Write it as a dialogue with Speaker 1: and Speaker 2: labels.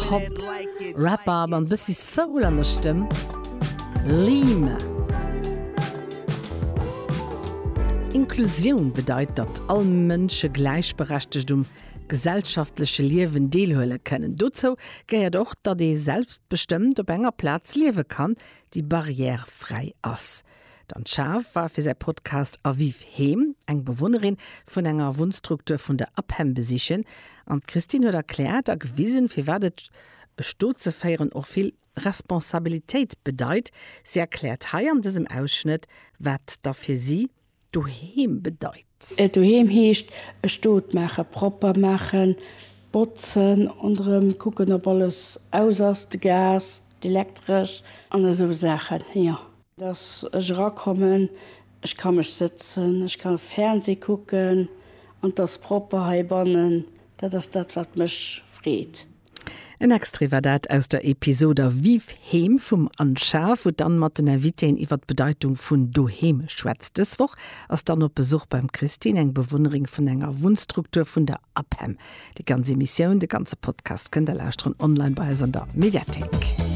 Speaker 1: Hip-Hop Rapper mat e bëssi Soul an der Stëmm, Leem. Inklusioun bedeit, datt all Mënsche gläichberechtegt um gesellschaftleche Liewen deelhuele kënnen. Dozou gehéiert och, datt ee selbstbestëmmt op enger Plaz liewe kann, déi barrièrefräi ass. D'Anne Schaaf war fir säi Podcast Aviv Heem eng Bewunnerin vun enger Wunnstruktur vun der APEM besichen an d'Christine huet erkläert a gewisen, firwat et e Stot ze féieren och vill Responsabilitéit bedeit. Si erkläert hei an dësem Ausschnëtt, wat da fir si Doheem bedeit.
Speaker 2: Doheem heescht e Stot maachen, propper maachen, botzen, ronderëm kucken ob alles aus ass, de Gas, d'Elektresch an esou Saachen, jo. Dass ech erakommen, ech ka mech sëtzen, ech ka Fernseh kucken an 't ass propper heibannen. Dat ass dat, wat mech freet.
Speaker 1: En Extrait war dat aus der Episod A Viv Heem vum Anne Schaaf, wou d'Anne mat den Invitéen iwwer d'Bedeitung vun Doheem schwätzt. Dës Woch ass d'Anne op Besuch beim Christine, eng Bewunnerin vun enger Wunnstruktur vun der APEM. Déi ganz Emissioun, de ganze Podcast kënnt der lauschteren online bei eis an der Mediathéik.